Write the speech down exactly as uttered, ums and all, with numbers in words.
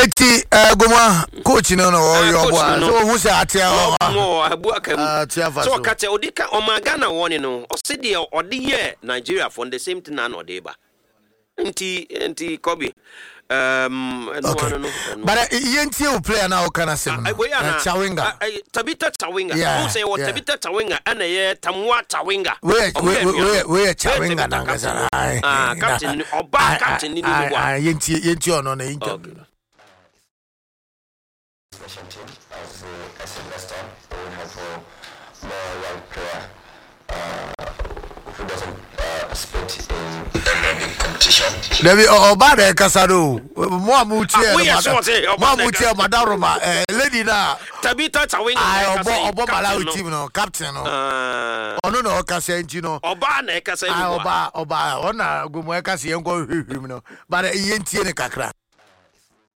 Eti Gomua coach no na ɔyɛ Ah, coach ɔboa no. so ohun sɛ atea ɔma ɔmo abu aka mu. Atea fa so so. ɔka kyɛ ɔde ka ɔma Ghana wɔne no, ɔse deɛ ɔde yɛ Nigeria for the same thing na na ɔde ba, nti nti Kobe um, ɛno Okay. ano no ɛno. But uh, yɛntie wo player na ɔka no asɛm Ah, no. wei ana- Eh, Chawinga. ah, eh, Tabita Chawinga. Yeah, Wohu sɛ yɛwɔ yeah. Tabita Chawinga ɛna ɛyɛ Tamuwa Chawinga. Wei Ɔmo wei yɛ anuanom. wei wei yɛ Wei Chawinga Tabita nankasa. captain no. Aye. Ah, captain ni, ɔbaa captain ni ni Aye, mu a. aye, yɛntie yɛntie ɔno na interview no. National team as uh, I said last time, we have uh, more young player uh, who doesn't uh, participate in any big competition. Dabi, ɔ- ɔbaa na ɛkasa no o, mo a mo tie Ah, no, woyɛ mada- sure sɛ ɔbaa mo a na mo tie, madaroma eh, lady na Tabita Chawinga aye, na ɛkasa ɔbɔ yi, ɔbɔ captain Malawi no. team no captain no. Ah, Ɔno na ɔkasa nti no. Ɔbaa na ɛkasa yi Aye, mu a. ɔbaa ɔbaa ɔna Gomu ɛkasa, yɛn kɔ hwehwɛ mu no, but eh, yɛntie ne kakra.